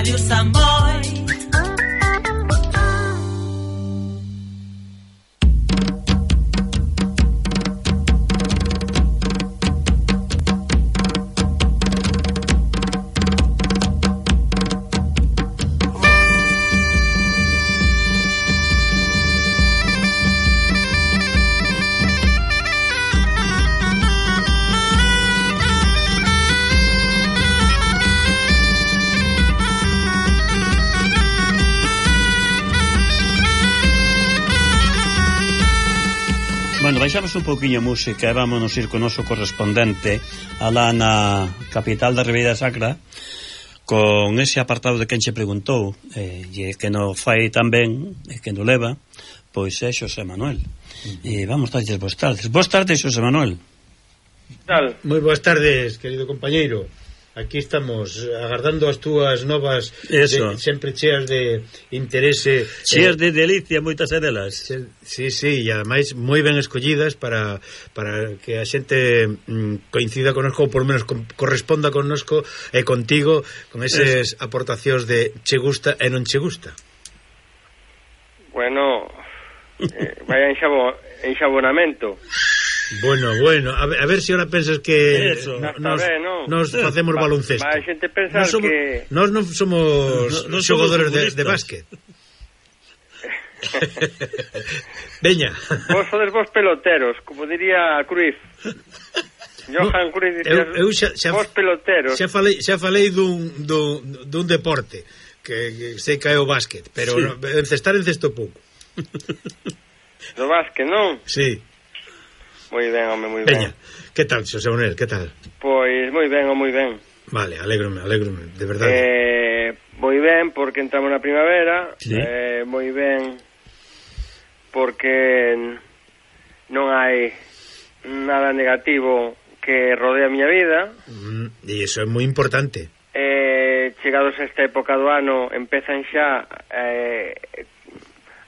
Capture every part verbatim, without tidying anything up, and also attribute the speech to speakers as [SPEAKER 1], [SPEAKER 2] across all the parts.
[SPEAKER 1] Radio Samboy.
[SPEAKER 2] Bueno, baixamos un pouquiño música e vámonos ir con o noso correspondente alá na capital da Ribeira Sacra con ese apartado de quen che preguntou eh, e que no fai tan ben e que no leva, pois é Xosé Manuel. Uh-huh. E vamos darlles boas tardes. Boas tardes, Xosé Manuel.
[SPEAKER 3] Tal?
[SPEAKER 4] Moi boas tardes, querido compañeiro. Aquí estamos agardando as túas novas de, sempre cheas de interese,
[SPEAKER 2] cheas eh, de delicia, moitas delas.
[SPEAKER 4] Sí, sí, e ademais moi ben escollidas para, para que a xente mm, coincida connosco, ou por menos con, corresponda connosco e contigo con eses aportacións de che gusta e non che gusta.
[SPEAKER 3] Bueno, eh, vaya enxabo, enxabonamento.
[SPEAKER 4] Bueno, bueno, a ver, a ver se si ahora pensas que
[SPEAKER 2] Eso,
[SPEAKER 4] nos,
[SPEAKER 3] ben, no?
[SPEAKER 4] nos facemos
[SPEAKER 3] va,
[SPEAKER 4] baloncesto.
[SPEAKER 3] Va a xente pensar
[SPEAKER 4] nos somos,
[SPEAKER 3] que...
[SPEAKER 4] Nos non somos no, no xogadores de, de básquet. Veña.
[SPEAKER 3] Vos sodes vos peloteros, como diría Cruyff. Johan Cruyff dicía, eu, eu xa, xa, vos peloteros.
[SPEAKER 4] Xa falei, xa falei dun, dun, dun deporte que, que sei que é o básquet, pero sí. No, encestar encesto pouco.
[SPEAKER 3] Do básquet, non?
[SPEAKER 4] Sí.
[SPEAKER 3] Moi ben, home, moi
[SPEAKER 4] ben. Veña, que tal, Xosé Manuel, que tal?
[SPEAKER 3] Pois moi ben, moi ben.
[SPEAKER 4] Vale, alégrome, alégrome, de verdade.
[SPEAKER 3] Eh, moi ben porque entramos na primavera,
[SPEAKER 4] sí.
[SPEAKER 3] eh, moi ben porque non hai nada negativo que rodea a miña vida.
[SPEAKER 4] Mm, e iso é moi importante.
[SPEAKER 3] Eh, chegados a esta época do ano empezan xa eh,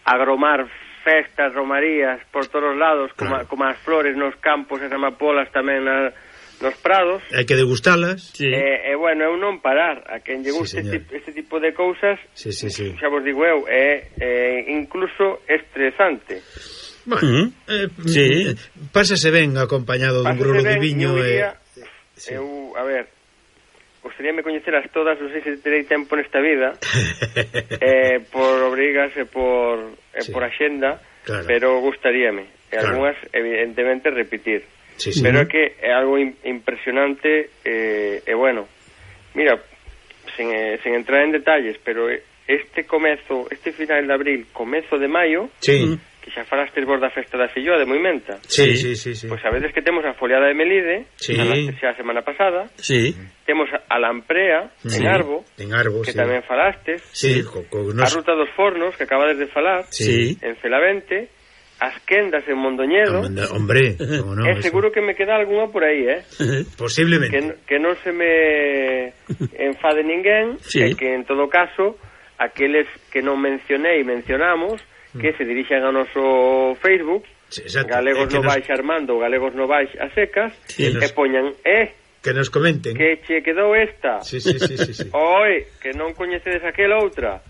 [SPEAKER 3] a agromar festas, romarías por todos os lados, como, claro. como as flores nos campos, as amapolas tamén na, nos prados.
[SPEAKER 4] Hai que degustalas.
[SPEAKER 3] Sí. E, eh, bueno, eu non parar a quen lle guste sí, este, este tipo de cousas,
[SPEAKER 4] sí, sí, sí.
[SPEAKER 3] xa vos digo eu, é eh, incluso estresante.
[SPEAKER 4] Bueno, uh-huh. eh, sí. Pásase ben acompañado dun grolo de viño.
[SPEAKER 3] Eu, eh, sí. eu, a ver, gostaríame coñeceras todas, non sei se terei tempo nesta vida, eh, por obrigas e por, e sí. por axenda, claro. Pero gustaríame. E claro. Algunhas, evidentemente, repetir.
[SPEAKER 4] Sí, sí.
[SPEAKER 3] Pero é que é algo impresionante e, eh, bueno, mira, sen, eh, sen entrar en detalles, pero este comezo, este final de abril, comezo de maio,
[SPEAKER 4] sí.
[SPEAKER 3] que xa falastes vos da festa da filloa de Moimenta.
[SPEAKER 4] Sí, sí, sí, sí.
[SPEAKER 3] Pois sabedes que temos a foliada de Melide,
[SPEAKER 4] sí.
[SPEAKER 3] xa a semana pasada.
[SPEAKER 2] Sí.
[SPEAKER 3] Temos a Lamprea,
[SPEAKER 4] sí.
[SPEAKER 3] en Arbo,
[SPEAKER 4] en Arbo
[SPEAKER 3] que
[SPEAKER 4] sí.
[SPEAKER 3] tamén falastes.
[SPEAKER 4] Sí, co, co, nos...
[SPEAKER 3] A Ruta dos Fornos, que acabades de falar,
[SPEAKER 4] sí.
[SPEAKER 3] en Celavente, as Quendas en Mondoñedo.
[SPEAKER 4] Hombre, como no,
[SPEAKER 3] é seguro que me queda algunha por aí, eh?
[SPEAKER 4] Posiblemente.
[SPEAKER 3] Que, que non se me enfade ninguén,
[SPEAKER 2] sí.
[SPEAKER 3] E que en todo caso, aqueles que non mencionei e mencionamos, que se dirixan ao noso Facebook,
[SPEAKER 4] sí,
[SPEAKER 3] Galegos no nos... Baix Armando, Galegos no Baix a secas, sí, nos... e poñan, eh,
[SPEAKER 4] que nos comenten.
[SPEAKER 3] Que che quedou esta.
[SPEAKER 4] Sí, sí, sí, sí, sí.
[SPEAKER 3] Oi, que non coñecedes aquela outra.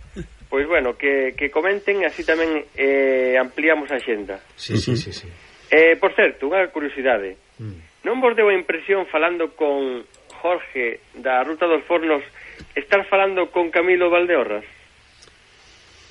[SPEAKER 3] Pois bueno, que, que comenten, así tamén eh, ampliamos a xenda.
[SPEAKER 4] Sí, sí, sí, sí.
[SPEAKER 3] Eh, por certo, unha curiosidade.
[SPEAKER 4] Mm.
[SPEAKER 3] Non vos deu a impresión falando con Jorge da Ruta dos Fornos estar falando con Camilo Valdeorras?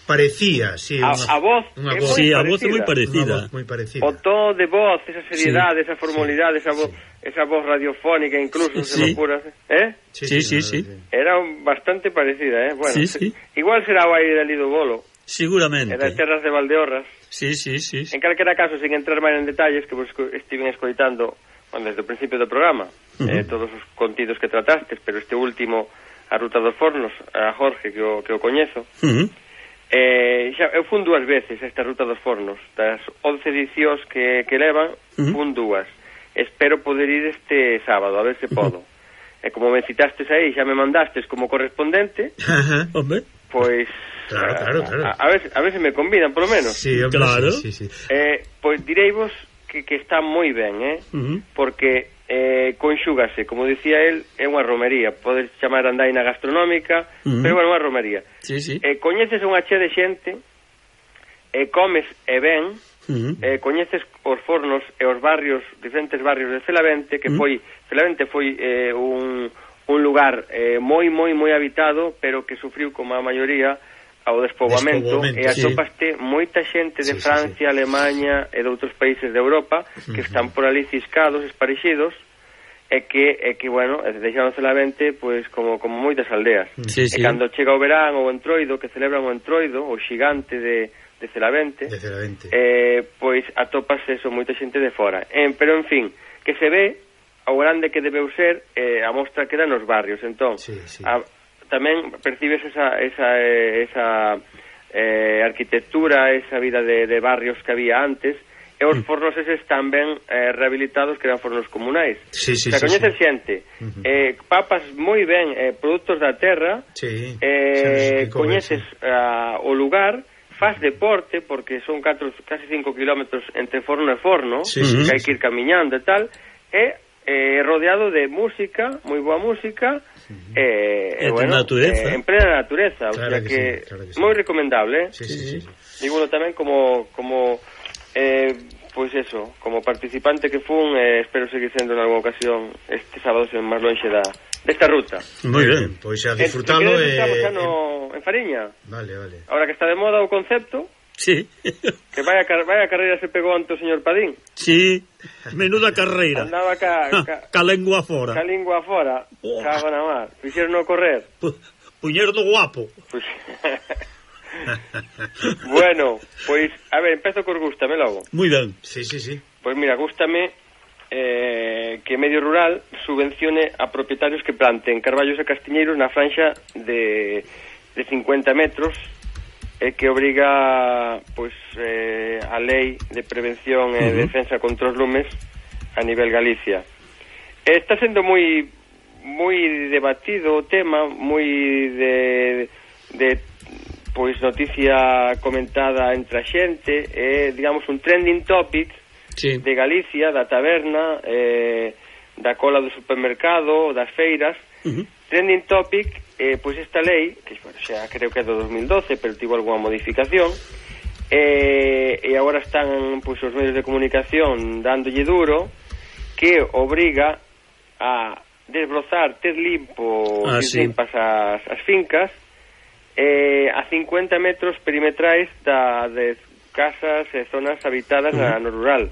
[SPEAKER 4] Parecía, sí,
[SPEAKER 3] a,
[SPEAKER 4] unha,
[SPEAKER 3] a voz,
[SPEAKER 4] unha
[SPEAKER 2] voz, sí, a voz é moi parecida.
[SPEAKER 4] Voz moi parecida.
[SPEAKER 3] O tono de voz, esa seriedade, sí, esa formalidade,
[SPEAKER 4] sí,
[SPEAKER 3] esa voz,
[SPEAKER 4] sí.
[SPEAKER 3] esa voz radiofónica, incluso,
[SPEAKER 2] sí.
[SPEAKER 3] se me ocurra, ¿eh?
[SPEAKER 2] Sí, sí, sí, sí.
[SPEAKER 3] Era bastante parecida, ¿eh? Bueno,
[SPEAKER 2] sí, sí.
[SPEAKER 3] Igual será o aire de Lido Bolo.
[SPEAKER 2] Seguramente.
[SPEAKER 3] Era terras de Valdeorras.
[SPEAKER 2] Sí, sí, sí, sí.
[SPEAKER 3] En calquera caso, sin entrar máis en detalles, que vos estiven escoitando, bueno, desde o principio do programa, uh-huh. eh, todos os contidos que tratastes, pero este último, a Ruta dos Fornos, a Jorge, que o, que o coñezo,
[SPEAKER 2] uh-huh.
[SPEAKER 3] Eh, xa, eu fun dúas veces esta Ruta dos Fornos. Das once edicións que, que levan, uh-huh. fun dúas. Espero poder ir este sábado, a ver se podo. Uh-huh. E como me citastes aí, xa me mandastes como correspondente,
[SPEAKER 4] uh-huh.
[SPEAKER 3] pois
[SPEAKER 4] claro, claro, claro.
[SPEAKER 3] A, a, ver, a ver se me convidan, por lo menos.
[SPEAKER 4] Sí, hombre,
[SPEAKER 2] claro.
[SPEAKER 4] Sí, sí, sí.
[SPEAKER 3] Eh, pois direivos que, que está moi ben, eh?
[SPEAKER 2] Uh-huh.
[SPEAKER 3] Porque eh, conxúgase, como dicía el, é unha romería, podes chamar andaina gastronómica, uh-huh. pero bueno, unha romería.
[SPEAKER 2] Sí, sí.
[SPEAKER 3] Eh, coñeces unha chea de xente, eh, comes e ben, uh-huh. eh, coñeces os fornos e os barrios, diferentes barrios de Celavente, que uh-huh. foi, Celavente foi eh, un, un lugar eh, moi, moi, moi habitado, pero que sufriu como a maioría ao despoboamento, e atopaste sí. moita xente de sí, Francia, sí, sí. Alemania e de outros países de Europa que uh-huh. están por ali ciscados, esparexidos, e que, e que bueno, deixaron Celavente pois, como, como moitas aldeas.
[SPEAKER 2] Sí,
[SPEAKER 3] e
[SPEAKER 2] sí.
[SPEAKER 3] cando chega o verán ou o entroido, que celebran o entroido, o xigante de, de Celavente,
[SPEAKER 4] de Celavente.
[SPEAKER 3] Eh, pois atopas eso, moita xente de fora. Eh, pero, en fin, que se ve o grande que debeu ser eh, a mostra que dá nos barrios. Entón,
[SPEAKER 4] sí, sí.
[SPEAKER 3] A, tamén percibes esa esa, esa eh, arquitectura, esa vida de, de barrios que había antes, e os fornos eses están ben eh, rehabilitados, que eran fornos comunais.
[SPEAKER 4] Sí, sí,
[SPEAKER 3] o sea,
[SPEAKER 4] sí,
[SPEAKER 3] coñeces
[SPEAKER 4] sí.
[SPEAKER 3] xente, uh-huh. eh, papas moi ben, eh, produtos da terra,
[SPEAKER 4] sí,
[SPEAKER 3] eh, coñeces uh, o lugar, faz deporte, porque son catro, casi cinco kilómetros entre forno e forno,
[SPEAKER 4] sí,
[SPEAKER 3] que
[SPEAKER 4] sí,
[SPEAKER 3] hai
[SPEAKER 4] sí.
[SPEAKER 3] que ir camiñando e tal, e eh, rodeado de música, moi boa música,
[SPEAKER 2] uh-huh.
[SPEAKER 3] eh,
[SPEAKER 2] e
[SPEAKER 3] bueno,
[SPEAKER 2] natureza.
[SPEAKER 3] Eh, en plena natureza,
[SPEAKER 4] claro,
[SPEAKER 3] o sea
[SPEAKER 4] que,
[SPEAKER 3] que,
[SPEAKER 4] sí, claro que sí.
[SPEAKER 3] moi recomendable, eh?
[SPEAKER 4] Sí, sí, sí, sí.
[SPEAKER 3] Dígolo tamén como como eh, pois pues eso, como participante que fun, eh, espero seguir sendo en alguna ocasión este sábado sen máis lonxe da desta ruta.
[SPEAKER 4] Moi ben, pois a disfrutalo
[SPEAKER 3] e eh, estamos xa
[SPEAKER 4] eh,
[SPEAKER 3] no, en Fariña.
[SPEAKER 4] Vale, vale.
[SPEAKER 3] Ahora que está de moda o concepto.
[SPEAKER 2] Sí.
[SPEAKER 3] Que vaya, vaya carreira se pegou ante o señor Padín.
[SPEAKER 2] Sí, menuda carreira.
[SPEAKER 3] Andaba ca, ca,
[SPEAKER 2] ca lengua fora.
[SPEAKER 3] Ca lingua fora. Oh. Cago na mar. Fixeron no correr.
[SPEAKER 2] Pu, puñer do guapo.
[SPEAKER 3] Pues... bueno, pois, a ver, empezo cos gústame logo.
[SPEAKER 2] Moi ben.
[SPEAKER 4] Sí, sí, sí.
[SPEAKER 3] Pois mira, gústame eh, que Medio Rural subvencione a propietarios que planten carballos e castiñeiros na franxa de, de cincuenta metros, e que obriga pois eh, a lei de prevención e uh-huh. defensa contra os lumes a nivel Galicia. E está sendo moi moi debatido o tema, moi de, de pois noticia comentada entre a xente, é, digamos, un trending topic sí. de Galicia, da taberna, eh, da cola do supermercado, das feiras. Uh-huh. Trending topic, eh, pois esta lei, que bueno, xa creo que é do dos mil doce, pero tivo algunha modificación, eh, e agora están pois os medios de comunicación dándolle duro, que obriga a desbrozar, ter limpo, ah, sí. limpas as, as fincas, eh, a cincuenta metros perimetrais da, de casas e zonas habitadas uh-huh. na, no rural.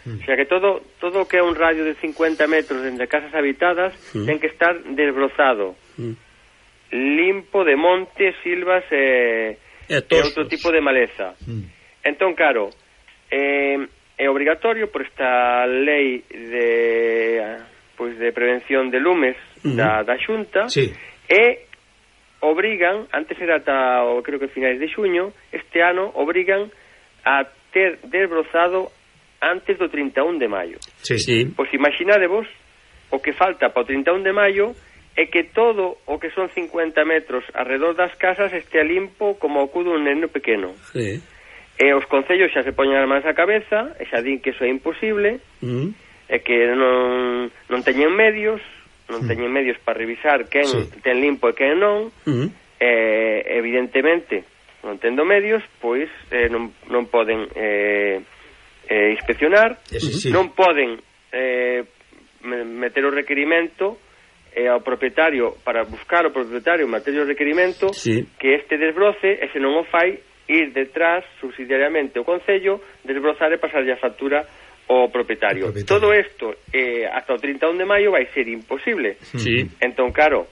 [SPEAKER 3] O sea que todo todo que é un radio de cincuenta metros entre casas habitadas mm. ten que estar desbrozado, mm. limpo de montes, silvas e, e, e outro tipo de maleza. Mm. Entón, claro, eh, é obrigatorio por esta lei de pois de prevención de lumes mm. da, da Xunta,
[SPEAKER 4] sí.
[SPEAKER 3] e obrigan, antes era ata o, creo que finais de xuño, este ano obrigan a ter desbrozado antes do trinta e un de maio.
[SPEAKER 4] Sí, sí.
[SPEAKER 3] Pois imaginadevos o que falta para o trinta e un de maio é que todo o que son cincuenta metros alrededor das casas este limpo como o cu dun neno pequeno.
[SPEAKER 2] Sí.
[SPEAKER 3] E os concellos xa se poñen as mans á cabeza e xa din que iso é imposible, mm. e que non, non teñen medios, non mm. teñen medios para revisar quen sí. ten limpo e quen non, mm. e evidentemente non tendo medios, pois eh, non, non poden... Eh, Eh, inspeccionar,
[SPEAKER 4] sí, sí.
[SPEAKER 3] non poden eh, meter o requerimento eh, ao propietario para buscar o propietario meter o requerimento
[SPEAKER 2] sí.
[SPEAKER 3] que este desbroce, e se non o fai ir detrás subsidiariamente o concello, desbrozar e pasarlle a factura ao propietario. propietario. Todo isto eh, hasta o trinta e un de maio vai ser imposible.
[SPEAKER 2] Sí.
[SPEAKER 3] Entón, claro,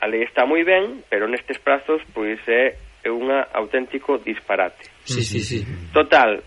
[SPEAKER 3] a lei está moi ben, pero nestes prazos pois é un auténtico disparate.
[SPEAKER 2] Sí, sí, sí.
[SPEAKER 3] Total,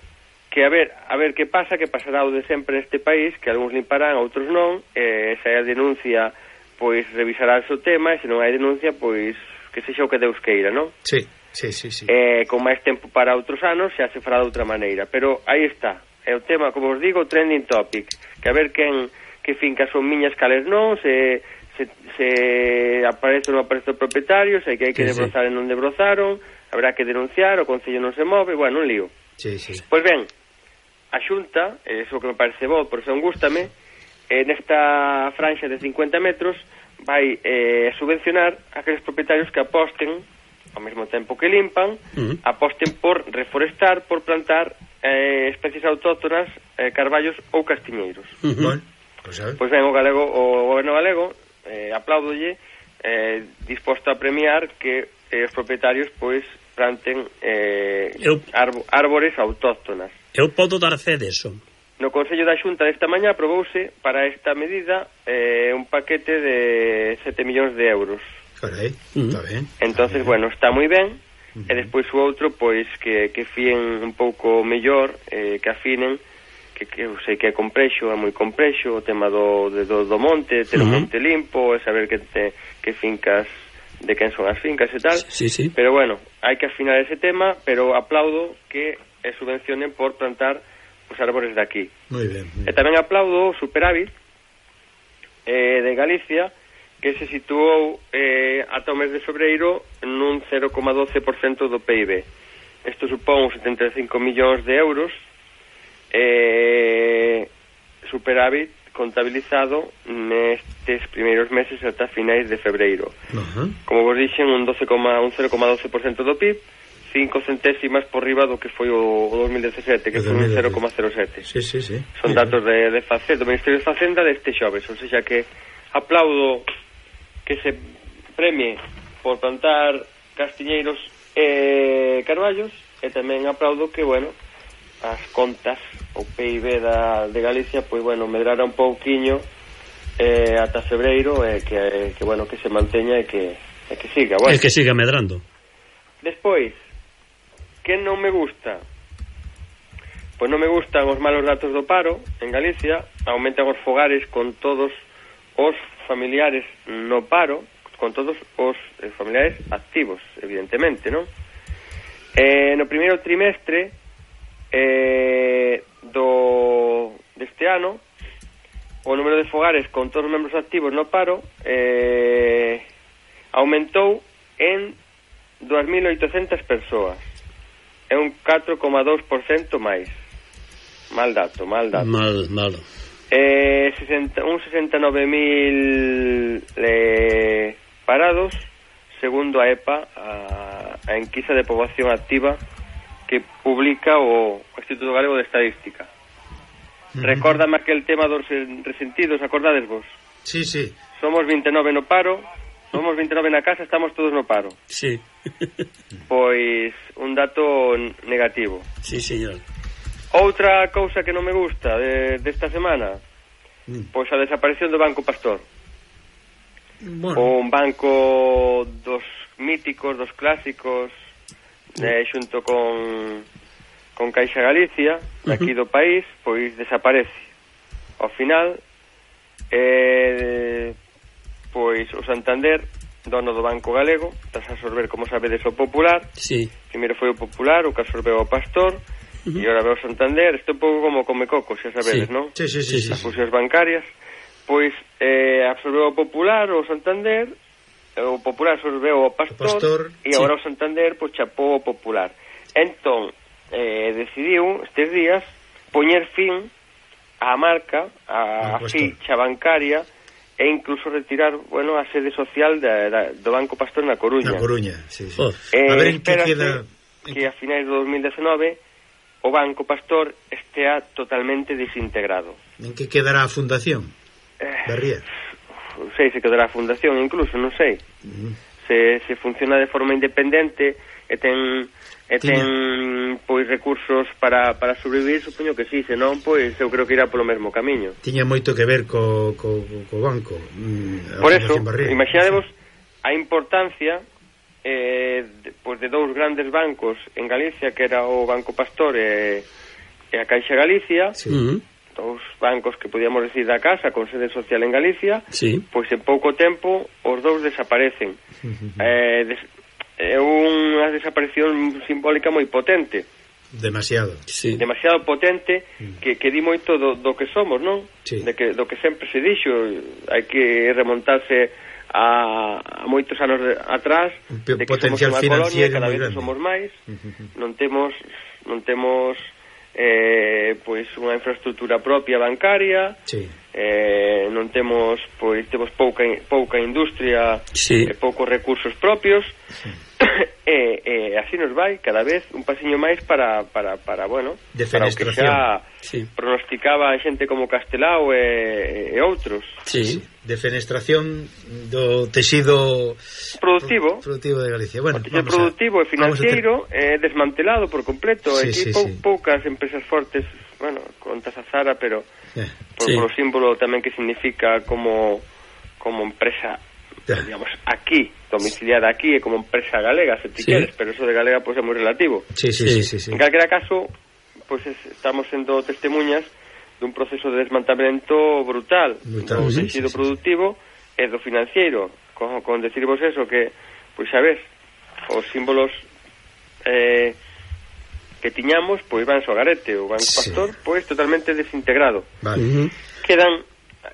[SPEAKER 3] que a ver, a ver que pasa, que pasará o de sempre neste país, que algúns limparán, outros non, e se hai a denuncia, pois revisará o tema, e se non hai denuncia, pois que sexa o que Deus queira, non?
[SPEAKER 4] Sí, sí, sí, sí.
[SPEAKER 3] Eh, con máis tempo para outros anos, xa se fará de outra maneira, pero aí está, é o tema, como os digo, trending topic, que a ver quen, que fincas son miñas, cales non, se, se, se aparece ou non aparece o propietario, se hai que hai que sí, debrozar sí. e non debrozaron, habrá que denunciar, o concello non se move, bueno, un lío.
[SPEAKER 4] Sí, sí.
[SPEAKER 3] Pois ben, a Xunta, eso que me parece bo, por eso gústame, eh, nesta franja de cincuenta metros vai eh, subvencionar aqueles propietarios que aposten ao mesmo tempo que limpan, uh-huh. aposten por reforestar, por plantar eh, especies autóctonas, eh, carballos ou castiñeiros.
[SPEAKER 4] Uh-huh. Bueno, pues,
[SPEAKER 3] pois ben, o galego, o goberno galego eh, aplaudolle, eh, disposto a premiar que eh, os propietarios pois planten eh,
[SPEAKER 2] eu,
[SPEAKER 3] arbo, árbores autóctonas.
[SPEAKER 2] Eu podo dar fe deso.
[SPEAKER 3] No Consello da Xunta desta mañá aprobouse para esta medida eh, un paquete de sete millóns de euros.
[SPEAKER 4] Carai, uh-huh. Está ben.
[SPEAKER 3] Entonces, bueno, está moi ben. Uh-huh. E despois o outro, pois, que, que fíen un pouco mellor, eh, que afinen, que, que eu sei que é complexo, é moi complexo, o tema do, de, do, do monte, ter uh-huh. un monte limpo, e saber que, te, que fincas, de quen son as fincas e tal.
[SPEAKER 2] Sí, sí.
[SPEAKER 3] Pero bueno, hai que afinar ese tema, pero aplaudo que eh, subvencionen por plantar os árbores de aquí.
[SPEAKER 4] Moi ben, moi ben.
[SPEAKER 3] E tamén aplaudo o superávit eh, de Galicia, que se situou eh, ata o mes de febreiro nun cero coma doce por cento do P I B. Isto supón setenta e cinco millóns de euros, eh, superávit contabilizado nestes primeiros meses ata finais de febreiro.
[SPEAKER 4] Uh-huh.
[SPEAKER 3] Como vos dixen, un, doce, un cero coma doce por cento do P I B, cinco centésimas por riba do que foi o, o dos mil dezasete, que foi un cero coma cero sete.
[SPEAKER 4] Sí, sí, sí.
[SPEAKER 3] Son
[SPEAKER 4] sí,
[SPEAKER 3] datos de, de Facenda, do Ministerio de Facenda deste xoves, ou seja que aplaudo que se premie por plantar castiñeiros e carballos, e tamén aplaudo que, bueno, as contas, o P I B da, de Galicia, pois, bueno, medrara un pouquiño eh, ata febreiro, e que, que, bueno, que se manteña e que, e que siga, bueno.
[SPEAKER 2] E que siga medrando.
[SPEAKER 3] Despois, que non me gusta? Pois non me gustan os malos datos do paro en Galicia, aumentan os fogares con todos os familiares no paro, con todos os eh, familiares activos, evidentemente, non? Eh, no primeiro trimestre eh, do deste ano, o número de fogares con todos os membros activos no paro eh, aumentou en dúas mil oitocentas persoas. É un catro coma dous por cento máis. Mal dato, mal dato.
[SPEAKER 2] Mal, malo.
[SPEAKER 3] Eh, sesenta, un sesenta e nove mil eh, parados, segundo a EPA, a, a enquisa de poboación activa que publica o Instituto Galego de Estadística. Uh-huh. Recórdame aquel tema dos resentidos, acordades vos?
[SPEAKER 4] Sí, sí.
[SPEAKER 3] Somos vinte e nove no paro, somos vinte e nove na casa, estamos todos no paro.
[SPEAKER 2] Sí.
[SPEAKER 3] Pois un dato negativo.
[SPEAKER 2] Sí, señor.
[SPEAKER 3] Outra cousa que non me gusta de, desta semana, mm. pois a desaparición do Banco Pastor.
[SPEAKER 4] Bueno.
[SPEAKER 3] Un banco dos míticos, dos clásicos, mm. eh, xunto con con Caixa Galicia, aquí uh-huh. do país, pois desaparece. Ao final, eh, pois o Santander, dono do Banco Galego, tras absorber, como sabedes, o Popular.
[SPEAKER 2] Sí.
[SPEAKER 3] Primeiro foi o Popular, o que absorbeu o Pastor, uh-huh. e agora veo o Santander. Isto é un pouco como come coco, xa sabedes,
[SPEAKER 2] sí.
[SPEAKER 3] non?
[SPEAKER 4] Sí, sí, sí, sí.
[SPEAKER 3] As fusións bancarias. Pois eh, absorbeu o Popular, o Santander, o Popular absorbeu o Pastor, o Pastor e agora sí. o Santander pois chapou o Popular. Entón, eh, decidiu estes días poñer fin á marca, á ficha bancaria, e incluso retirar, bueno, a sede social da, da, do Banco Pastor na Coruña.
[SPEAKER 4] Na Coruña, sí, sí.
[SPEAKER 2] Oh.
[SPEAKER 3] Eh,
[SPEAKER 4] a ver en que queda...
[SPEAKER 3] que a finais do dos mil dezenove o Banco Pastor estea totalmente desintegrado.
[SPEAKER 4] En que quedará a fundación?
[SPEAKER 3] Eh,
[SPEAKER 4] Barría.
[SPEAKER 3] Non sei se quedará a fundación, incluso, non sei. Uh-huh. Se, se funciona de forma independente e ten... e ten, pois, recursos para, para sobrevivir, supoño que sí, senón, pois, eu creo que irá polo mesmo camiño.
[SPEAKER 4] Tiña moito que ver co, co, co banco. Mm,
[SPEAKER 3] Por eso, imaginadevos a importancia eh, de, pois, de dous grandes bancos en Galicia, que era o Banco Pastor e, e a Caixa Galicia,
[SPEAKER 2] sí. uh-huh.
[SPEAKER 3] dous bancos que podíamos decir da casa, con sede social en Galicia,
[SPEAKER 2] sí.
[SPEAKER 3] pois en pouco tempo os dous desaparecen. Uh-huh. Eh, des, é unha desaparición simbólica moi potente.
[SPEAKER 4] Demasiado.
[SPEAKER 2] Sí.
[SPEAKER 3] Demasiado potente que, que di moito do, do que somos, non?
[SPEAKER 4] Sí.
[SPEAKER 3] De que, do que sempre se dixo, hai que remontarse a, a moitos anos de, atrás, de que
[SPEAKER 4] potencial
[SPEAKER 3] somos unha colonia, cada vez
[SPEAKER 4] grande.
[SPEAKER 3] somos máis, uh-huh. non temos non temos eh, pois unha infraestructura propia bancaria,
[SPEAKER 4] sí.
[SPEAKER 3] eh, non temos, pois temos pouca pouca industria,
[SPEAKER 2] sí.
[SPEAKER 3] e poucos recursos propios, sí. e, e así nos vai cada vez un pasiño máis para, para, para bueno, para o que xa
[SPEAKER 2] sí.
[SPEAKER 3] pronosticaba xente como Castelao e, e outros.
[SPEAKER 2] Sí.
[SPEAKER 4] Defenestración do texido
[SPEAKER 3] productivo,
[SPEAKER 4] pro, productivo de Galicia. Bueno,
[SPEAKER 3] o texido productivo
[SPEAKER 4] a,
[SPEAKER 3] e financiero ter... eh, desmantelado por completo.
[SPEAKER 4] Sí,
[SPEAKER 3] Aquí
[SPEAKER 4] sí,
[SPEAKER 3] pou,
[SPEAKER 4] sí.
[SPEAKER 3] poucas empresas fortes, bueno, contas a Zara, pero
[SPEAKER 4] yeah.
[SPEAKER 3] por,
[SPEAKER 2] sí.
[SPEAKER 3] por o símbolo tamén que significa como como empresa, yeah. digamos, aquí, domiciliada aquí, e como empresa galega, se ti sí. queres, pero eso de galega pois pues, é moi relativo.
[SPEAKER 4] Sí, sí, sí, sí, sí.
[SPEAKER 3] En calquera caso, pois pues, estamos sendo testemunhas dun proceso de desmantelamento brutal, brutal do texido sí, sí, productivo sí. e do financiero, con, con decirvos eso, que, pois xa ves, os símbolos eh, que tiñamos, pois van so garete, o Banco sí. Pastor, pois totalmente desintegrado.
[SPEAKER 4] Vale. Uh-huh.
[SPEAKER 3] Quedan,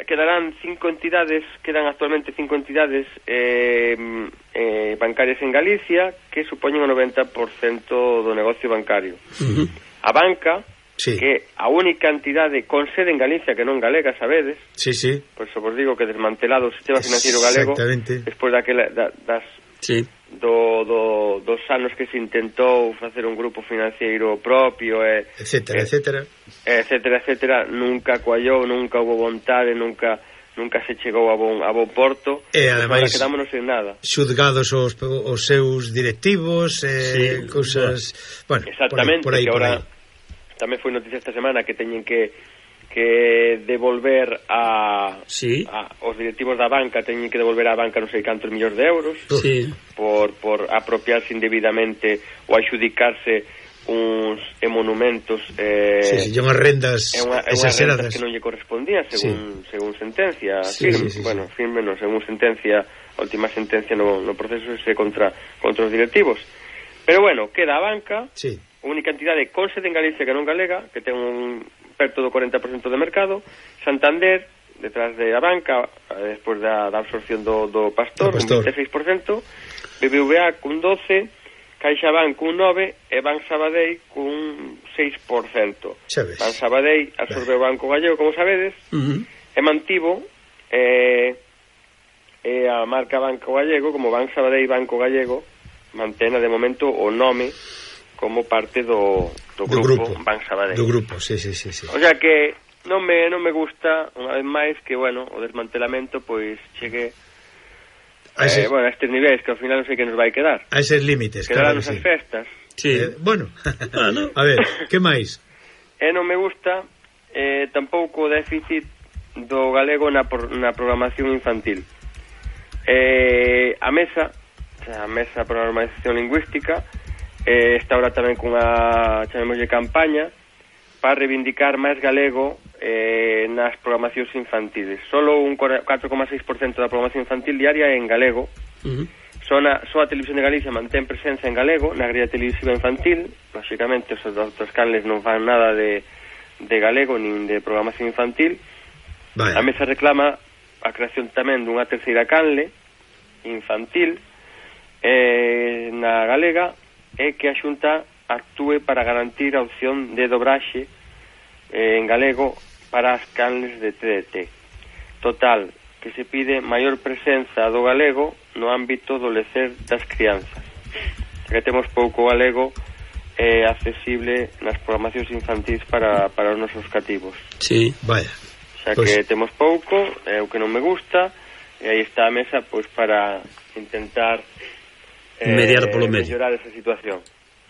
[SPEAKER 3] quedarán cinco entidades, quedan actualmente cinco entidades eh, eh, bancarias en Galicia, que supoñen o noventa por cento do negocio bancario. Uh-huh. A banca, sí. que a única entidade con sede en Galicia que non galega, sabedes?
[SPEAKER 4] Sí, sí.
[SPEAKER 3] Pois pues, vos digo que desmantelado o sistema financiero galego despois daquela, da, das
[SPEAKER 2] sí.
[SPEAKER 3] do, do, dos anos que se intentou facer un grupo financiero propio e,
[SPEAKER 4] etcétera,
[SPEAKER 3] e,
[SPEAKER 4] etcétera
[SPEAKER 3] etcétera, etcétera, nunca coallou, nunca houve vontade, nunca nunca se chegou a bon, a bon porto,
[SPEAKER 4] e ademais
[SPEAKER 3] quedámonos en nada.
[SPEAKER 4] Xudgados os, os seus directivos e eh, sí. cousas, bueno,
[SPEAKER 3] exactamente,
[SPEAKER 4] por aí, por aí,
[SPEAKER 3] que
[SPEAKER 4] por
[SPEAKER 3] ahora
[SPEAKER 4] aí.
[SPEAKER 3] Tamén foi noticia esta semana que teñen que que devolver a,
[SPEAKER 2] sí.
[SPEAKER 3] a os directivos da banca teñen que devolver á banca non sei cantos millóns de euros
[SPEAKER 2] sí.
[SPEAKER 3] por, por apropiarse indebidamente ou adjudicarse uns monumentos eh,
[SPEAKER 4] sí, sí, unhas rendas
[SPEAKER 3] é unha, é unha rendas que non lle correspondían según, sí. según sentencia
[SPEAKER 4] sí,
[SPEAKER 3] firme,
[SPEAKER 4] sí, sí,
[SPEAKER 3] bueno,
[SPEAKER 4] sí.
[SPEAKER 3] firme non, según sentencia, a última sentencia no, no proceso ese contra, contra os directivos, pero bueno, queda a banca,
[SPEAKER 4] sí.
[SPEAKER 3] única entidade con sede en Galicia que non galega, que ten un perto do corenta por cento de mercado, Santander, detrás de a banca, despois da, da absorción do, do Pastor, do Pastor, un vinte e seis por cento, B B V A cun doce por cento, CaixaBank cun nove por cento e Banco Sabadell cun seis por cento. Banco Sabadell absorbeu o Banco Gallego, como sabedes,
[SPEAKER 2] uh-huh.
[SPEAKER 3] e mantivo eh, e a marca Banco Gallego, como Banco Sabadell Banco Gallego, mantena de momento o nome como parte do, do,
[SPEAKER 4] do
[SPEAKER 3] grupo,
[SPEAKER 4] grupo
[SPEAKER 3] Banco Sabadell.
[SPEAKER 4] Do grupo, sí, sí, sí, sí.
[SPEAKER 3] O sea que non me non me gusta, unha vez máis, que, bueno, o desmantelamento pois chegue a ese, eh, bueno, a estes niveis que ao final non sei que nos vai quedar.
[SPEAKER 4] A eses límites,
[SPEAKER 3] claro,
[SPEAKER 4] claro,
[SPEAKER 3] sí. As festas.
[SPEAKER 2] Sí.
[SPEAKER 4] Eh, bueno, a ver, que máis?
[SPEAKER 3] E non me gusta eh, tampouco o déficit do galego na, por, na programación infantil. Eh, a mesa, a mesa para a normalización lingüística, eh, está ahora tamén cunha, chamémoslle, campaña para reivindicar máis galego eh, nas programacións infantiles. Solo un catro coma seis por cento da programación infantil diaria é en galego.
[SPEAKER 2] Uh-huh.
[SPEAKER 3] Só, na, só a Televisión de Galicia mantén presenza en galego na grilla televisiva infantil. Lóxicamente, os outros canles non fan nada de, de galego nin de programación infantil.
[SPEAKER 4] Vale.
[SPEAKER 3] A mesa reclama a creación tamén dunha terceira canle infantil eh, na galega, é que a Xunta actúe para garantir a opción de dobraxe eh, en galego para as canles de T D T. Total, que se pide maior presenza do galego no ámbito do lecer das crianzas. Que temos pouco galego eh, accesible nas programacións infantis para, para os nosos cativos.
[SPEAKER 2] Sí, vaya.
[SPEAKER 3] Xa pues... que temos pouco, é o que non me gusta, e aí está a mesa pois para intentar eh,
[SPEAKER 2] mediar polo medio,
[SPEAKER 3] mellorar esa situación.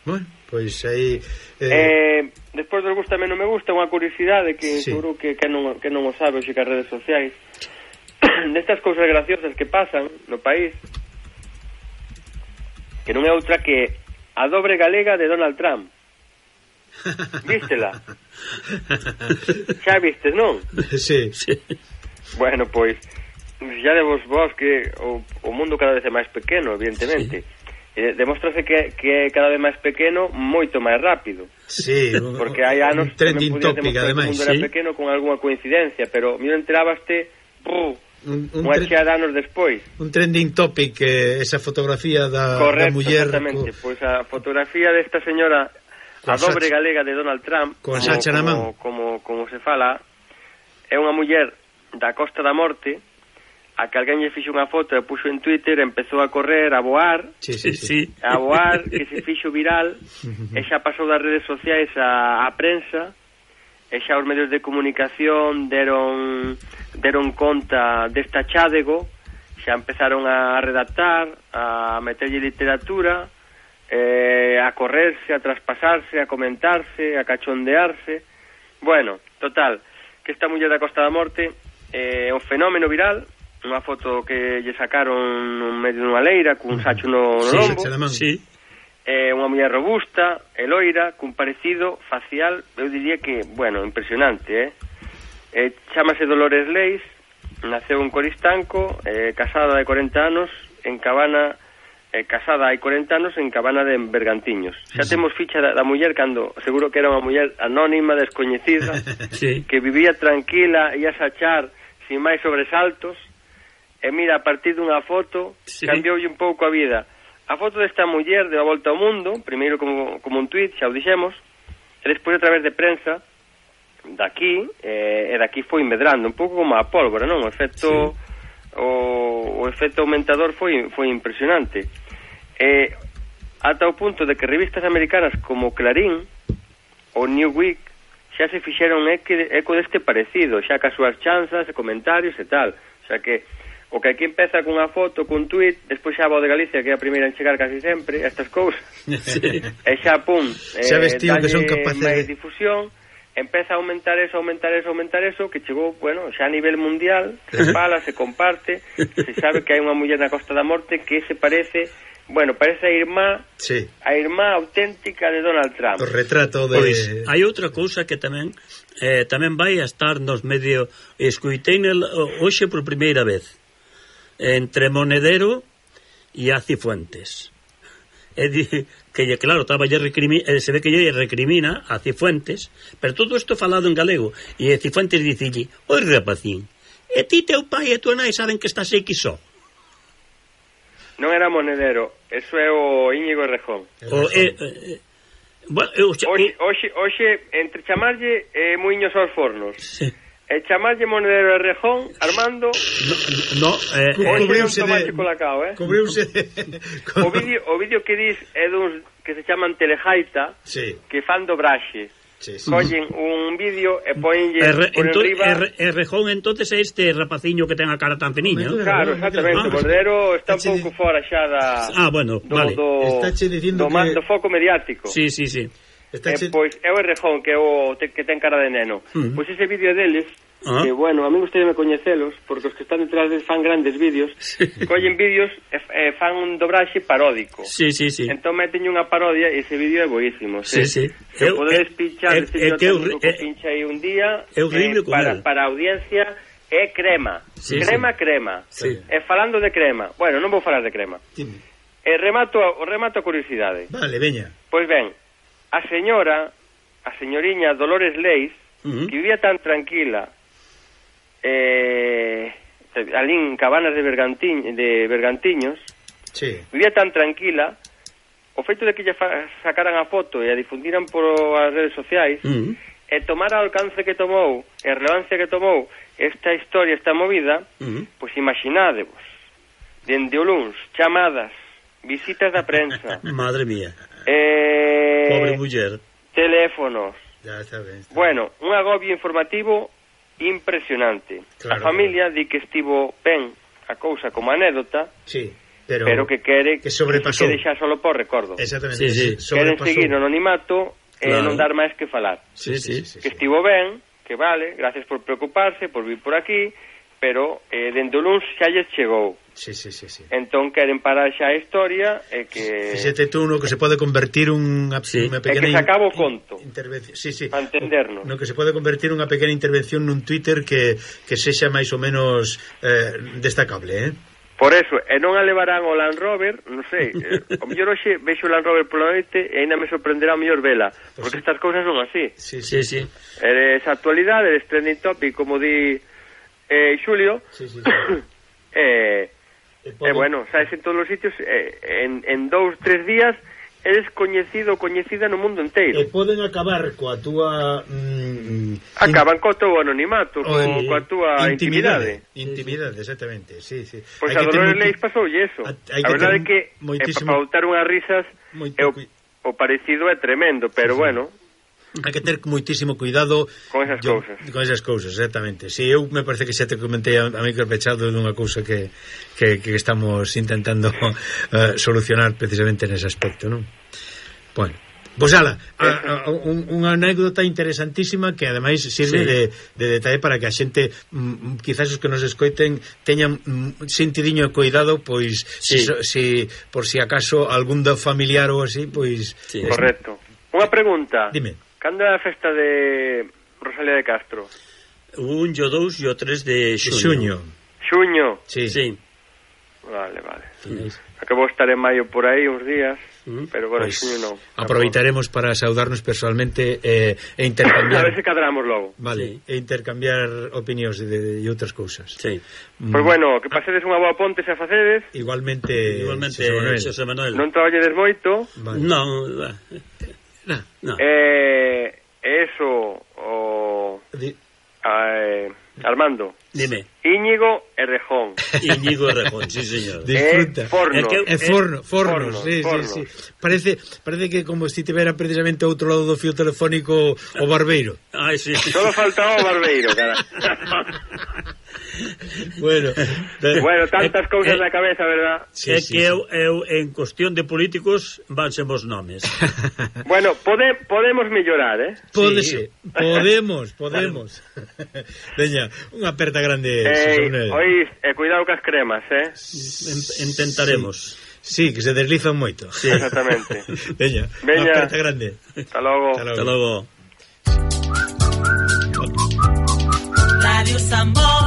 [SPEAKER 4] Bueno, pois aí
[SPEAKER 3] eh... eh, despois do gusta non me gusta, unha curiosidade que
[SPEAKER 4] sí.
[SPEAKER 3] seguro que, que, non, que non o sabe hoxe que as redes sociais destas cousas graciosas que pasan no país, que non é outra que a dobre galega de Donald Trump. Vístela? Xa vistes, non?
[SPEAKER 4] Sí, sí.
[SPEAKER 3] Bueno, pois xa de vos vos que o, o mundo cada vez é máis pequeno, evidentemente. Sí. Eh, demóstrase que, que cada vez máis pequeno moito máis rápido.
[SPEAKER 4] Sí,
[SPEAKER 3] porque hai anos
[SPEAKER 4] un trending topic, ademais,
[SPEAKER 3] que o mundo
[SPEAKER 4] sí.
[SPEAKER 3] era pequeno con algunha coincidencia, pero mira, enterabaste uh,
[SPEAKER 4] un, un
[SPEAKER 3] unha chea de anos despois.
[SPEAKER 4] Un trending topic, eh, esa fotografía da,
[SPEAKER 3] correcto,
[SPEAKER 4] da muller.
[SPEAKER 3] Correcto, exactamente, co... pois a fotografía desta señora a dobre galega de Donald Trump,
[SPEAKER 4] con Sacha na man,
[SPEAKER 3] como, como, como se fala, é unha muller da Costa da Morte, a que alguén lle fixo unha foto e puxo en Twitter, empezou a correr, a voar,
[SPEAKER 2] sí, sí, sí.
[SPEAKER 3] a voar, que se fixo viral, e xa pasou das redes sociais á, a prensa, e xa os medios de comunicación deron deron conta desta chádego, xa empezaron a redactar, a meterlle literatura, eh, a correrse, a traspasarse, a comentarse, a cachondearse. Bueno, total, que esta muller da Costa da Morte é eh, un fenómeno viral, unha foto que lle sacaron no medio dunha leira cun sacho no, no lombo.
[SPEAKER 2] Sí, sí.
[SPEAKER 3] É unha muller robusta, e loira, cun parecido facial, eu diría que, bueno, impresionante, eh? eh chámase Dolores Leis, naceu en Coristanco, eh, casada de corenta anos, en Cabana, eh, casada hai corenta anos en Cabana de Bergantiños. Xa sí. Temos ficha da, da muller cando seguro que era unha muller anónima, descoñecida, sí. Que vivía tranquila, ia sachar sin máis sobresaltos, e mira, a partir dunha foto, sí. Cambioulle un pouco a vida. A foto desta muller deu a volta ao mundo, primeiro como, como un tuit, xa o dixemos, e despois a través de prensa, daqui, eh, e daqui foi medrando, un pouco como a pólvora, non? O efecto, sí. o, o efecto aumentador foi, foi impresionante. E ata o punto de que revistas americanas como Clarín ou Newsweek xa se fixeron eco deste parecido, xa ca súas chanzas e comentarios e tal. O sea que o que aquí empeza cunha foto, cun tuit, despois xa a Voz de Galicia, que é a primeira en chegar casi sempre a estas cousas, sí. E xa, pum,
[SPEAKER 4] xa vestiu que son capaces
[SPEAKER 3] de difusión, empeza a aumentar eso, aumentar eso, aumentar eso, que chegou, bueno, xa a nivel mundial, se fala, se comparte, se sabe que hai unha muller na Costa da Morte que se parece, bueno, parece a irmá,
[SPEAKER 4] sí.
[SPEAKER 3] A irmá auténtica de Donald Trump.
[SPEAKER 4] O retrato de...
[SPEAKER 2] Pois, hai outra cousa que tamén eh, tamén vai a estar nos medio, escuitei hoxe por primeira vez, entre Monedero e a Cifuentes. É dicir, que claro, estaba lle recrimina, se ve que lle recrimina a Cifuentes, pero todo isto falado en galego, e a Cifuentes dicille: "Oi, rapacín, e ti, teu pai e tua nai saben que estás aquí só?"
[SPEAKER 3] Non era Monedero, eso é o Íñigo Errejón.
[SPEAKER 2] O, eh, eh, bueno, eu,
[SPEAKER 3] oxe, oxe, oxe, entre chamarlle eh, muiños aos fornos, sí. E chamarlle Monedero Errejón, Armando,
[SPEAKER 2] no, no eh,
[SPEAKER 3] cubriuse de colacao, eh?
[SPEAKER 4] Cubriuse de...
[SPEAKER 3] o vídeo o vídeo que dis é duns que se chaman Telejaita,
[SPEAKER 4] sí.
[SPEAKER 3] Que fan dobraxe.
[SPEAKER 4] Sí, sí.
[SPEAKER 3] Collen un vídeo e poñenlle
[SPEAKER 2] R
[SPEAKER 3] por
[SPEAKER 2] ento
[SPEAKER 3] enriba...
[SPEAKER 2] R Errejón entonces é este rapaciño que ten a cara tan finiña.
[SPEAKER 3] Claro, exactamente. O Monedero está un pouco fora xa da...
[SPEAKER 2] Ah, bueno,
[SPEAKER 3] do,
[SPEAKER 2] vale.
[SPEAKER 3] Do,
[SPEAKER 4] do,
[SPEAKER 3] que... do foco mediático.
[SPEAKER 2] Sí, sí, sí.
[SPEAKER 3] Eh, pois é o Errejón que é o te, que ten cara de neno. Uh -huh. Pois ese vídeo deles, uh -huh. Que bueno, a mí gustaría me coñecelos, porque os que están detrás de fan grandes vídeos, sí. Collen vídeos e eh, fan un dobraxe paródico.
[SPEAKER 2] Sí, sí, sí.
[SPEAKER 3] Entón meten unha parodia e ese vídeo é boísimo.
[SPEAKER 2] Sí, sí.
[SPEAKER 3] Se eu, podedes pinchar, eh, eh, que eu, eh, pincha aí un día,
[SPEAKER 2] é horrible
[SPEAKER 3] eh, para, para a audiencia é crema. Sí, crema, sí. Crema.
[SPEAKER 2] Sí.
[SPEAKER 3] E falando de crema, bueno, non vou falar de crema.
[SPEAKER 4] Dime.
[SPEAKER 3] E remato, remato a curiosidade.
[SPEAKER 4] Vale, veña.
[SPEAKER 3] Pois ben, a señora, a señoriña Dolores Leis, uh -huh. Que vivía tan tranquila, eh, ali en Cabanas de, Bergantiñ, de Bergantiños,
[SPEAKER 4] sí.
[SPEAKER 3] Vivía tan tranquila, o feito de que lle sacaran a foto e a difundiran por as redes sociais, uh -huh. E tomar o alcance que tomou, e a relevancia que tomou esta historia, esta movida, uh -huh. Pois imaginádevos, dende o luns, chamadas, visitas da prensa.
[SPEAKER 2] Madre mía.
[SPEAKER 3] Eh,
[SPEAKER 2] Pobre muller.
[SPEAKER 3] Teléfonos.
[SPEAKER 4] Ya está ben, está
[SPEAKER 3] bueno, un agobio informativo impresionante. Claro, a familia claro. Di que estivo ben a cousa como anécdota,
[SPEAKER 4] sí, pero,
[SPEAKER 3] pero que quere
[SPEAKER 4] que sobrepasou.
[SPEAKER 3] Que deixa solo por recordo.
[SPEAKER 4] Exactamente.
[SPEAKER 2] Sí, sí.
[SPEAKER 3] Queren seguir no anonimato e claro. Non dar máis que falar.
[SPEAKER 2] Sí, sí, sí,
[SPEAKER 3] que
[SPEAKER 2] sí.
[SPEAKER 3] Estivo ben, que vale, gracias por preocuparse, por vir por aquí, pero eh, dende o luns xa lles chegou.
[SPEAKER 4] Sí, sí, sí, sí.
[SPEAKER 3] Entón queren parar xa a historia e que...
[SPEAKER 4] Fíxate tú no que se pode convertir unha,
[SPEAKER 3] sí.
[SPEAKER 4] Unha pequena...
[SPEAKER 3] E que se acaba o conto.
[SPEAKER 4] Intervención, sí, sí.
[SPEAKER 3] Para entendernos.
[SPEAKER 4] No que se pode convertir unha pequena intervención nun Twitter que, que sexa máis ou menos eh, destacable, eh?
[SPEAKER 3] Por eso, e non a levarán o Land Rover, non sei, eh, o mellor hoxe vexo o Land Rover pola noite e ainda me sorprenderá o mellor vela, porque pues sí. Estas cousas son así.
[SPEAKER 2] Sí, sí, sí.
[SPEAKER 3] Eres actualidade, eres trending topic, como di eh, Xulio,
[SPEAKER 4] sí, sí, sí.
[SPEAKER 3] eh, e eh, bueno, sabes en todos os sitios, eh, en, en dous, tres días é descoñecido, coñecida no mundo inteiro.
[SPEAKER 4] E poden acabar coa túa... Mm,
[SPEAKER 3] Acaban co teu anonimato, co,
[SPEAKER 4] in,
[SPEAKER 3] coa túa intimidade.
[SPEAKER 4] Intimidade, exactamente, sí, sí.
[SPEAKER 3] Pois a Dolores Leis pasoulle eso. A, a verdade é que moitísimo... para botar unhas risas é o, o parecido é tremendo, pero sí, bueno...
[SPEAKER 4] Hai que ter moitísimo cuidado
[SPEAKER 3] con esas
[SPEAKER 4] yo,
[SPEAKER 3] cousas.
[SPEAKER 4] Con esas cousas, exactamente. Si, sí, eu me parece que xa te comentei a, a micro pechado dunha cousa que, que, que estamos intentando uh, solucionar precisamente nese aspecto, non? Bueno, pois ala, a, a, un, unha anécdota interesantísima que ademais sirve sí, de, de detalle para que a xente, mm, quizás os que nos escoiten teñan mm, sentidiño cuidado, pois sí, si, si, por si acaso algún do familiar ou así, pois...
[SPEAKER 3] Sí, es... Correcto. Unha pregunta.
[SPEAKER 4] Dime.
[SPEAKER 3] Cando é a festa de Rosalía de Castro?
[SPEAKER 2] Un, o dous e o tres de xuño.
[SPEAKER 4] Xuño.
[SPEAKER 3] Xuño?
[SPEAKER 2] Sí. sí.
[SPEAKER 3] Vale, vale. Sí. Acabo de estar en maio por aí uns días, mm. pero bueno, pues, xuño non.
[SPEAKER 4] Aproveitaremos para saudarnos personalmente eh, e intercambiar...
[SPEAKER 3] A ver se cadramos logo.
[SPEAKER 4] Vale, sí. E intercambiar opinións de, de outras cousas.
[SPEAKER 2] Sí.
[SPEAKER 3] Mm. Pois pues bueno, que pasedes unha boa ponte se a facedes.
[SPEAKER 4] Igualmente,
[SPEAKER 2] Igualmente Xosé Manuel. Xosé Manuel.
[SPEAKER 3] Non traballedes moito.
[SPEAKER 2] Vale. Non,
[SPEAKER 3] No. No. Eh, eso o Di... eh, Armando.
[SPEAKER 2] Dime.
[SPEAKER 3] Íñigo e Rejón.
[SPEAKER 2] Íñigo e Rejón, sí, señor.
[SPEAKER 4] Disfruta.
[SPEAKER 3] É forno.
[SPEAKER 4] É, que, é forno, forno,
[SPEAKER 3] forno,
[SPEAKER 4] sí,
[SPEAKER 3] forno.
[SPEAKER 4] sí, sí. Parece, parece que como se tivera precisamente ao outro lado do fío telefónico o barbeiro.
[SPEAKER 2] Ai, sí.
[SPEAKER 3] Solo faltaba o barbeiro, cara.
[SPEAKER 4] Bueno,
[SPEAKER 3] de, bueno, tantas cousas eh, na cabeza, verdad?
[SPEAKER 2] Sí, é sí, que sí. Eu, eu, en cuestión de políticos vanse vos nomes.
[SPEAKER 3] Bueno, pode, podemos mellorar, eh?
[SPEAKER 4] Pódese, sí. podemos, podemos. Veña, unha aperta grande.
[SPEAKER 3] Eh, oís, eh, cuidado cas cremas, eh?
[SPEAKER 2] Intentaremos.
[SPEAKER 4] Sí, que se deslizan moito.
[SPEAKER 3] Sí, exactamente.
[SPEAKER 4] Veña,
[SPEAKER 3] Veña,
[SPEAKER 4] unha aperta grande.
[SPEAKER 3] Hasta logo.
[SPEAKER 2] Hasta logo.
[SPEAKER 1] Radio Sambo.